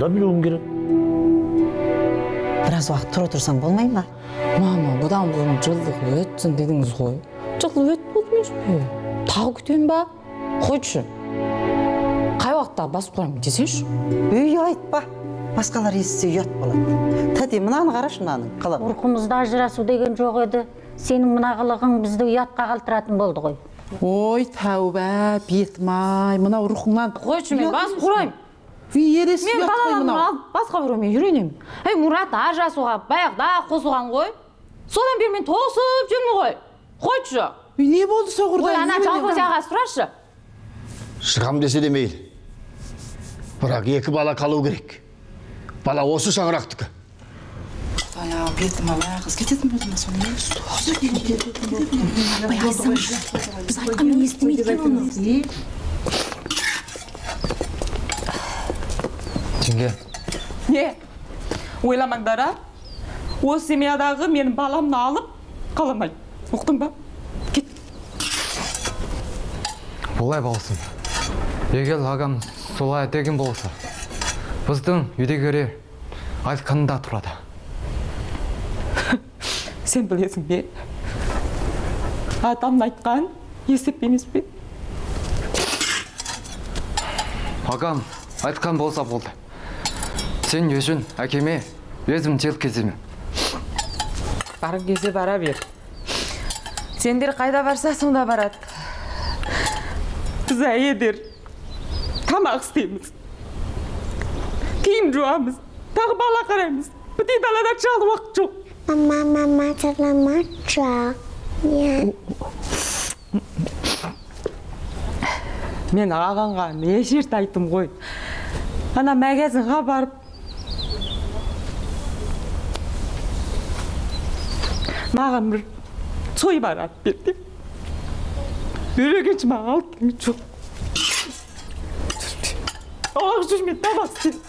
да билүүм керек. Biraz убакыт тура турсаң болмай ма? Мама, будан бұрын жылдық өтсін дедіңіз ғой. Жылдық өт болды емес пе? Тағы күтемін ба? Қойшы. Қай уақытта басып қоямын десеңші? Үй айтпа. Басқалар естісе ұят болады. Тәте, мынаны қарашы, мынаның қылығы. Урқымызда ажырасу деген жоқ еді. Сенің мына қылығың бізді ұятқа қалдыратын болды ғой. Ой, тәуба, бетмай, мына рухыңнан. Қойшы, мен басып құрайым. Ересі Мен балаларымды алып басқа біреумен үйренемін. Мұрат ажырасуға баяғыда қосылған ғой. Содан бері мен тосып жүрмін ғой. Қойшы. Не болды соғырда? Ой, ана жалғыз аға сұрашы. Шығам десе де мейлі. Бірақ екі бала қалу керек. Бала осы шаңырақтікі. Ая, бетім ала, қыз кететін болдым соны. Біз айтқанмен естімейді екен оны. Жеңге. Не? Ойламаңдар, а? Осы семьядағы менің баламны алып қаламай. Ұқтың ба? Кет. Болай болсын. Егер ағам солай деген болса, біздің үйдегілер айтқанында тұрады. Сен білесің бе? Атамның айтқан есеп емес пе? Ағам айтқан болса болды. Сен үшін әкеме өзім жел кеземін. Барып кесе бара бер. Сендер қайда барса сонда барады. Біз әйелдер тамақ істейміз. Киім жуамыз. Тағы бала қараймыз. Бітей далада чалы уақыт жоқ. Мама, саламатша. Мен ағаңға неше рет айттым ғой. Ана магазинға барып маған бір той барады берді. Бөлегенші маған алып келген жоқ. Оғақ жүрмей тамақ істеймін.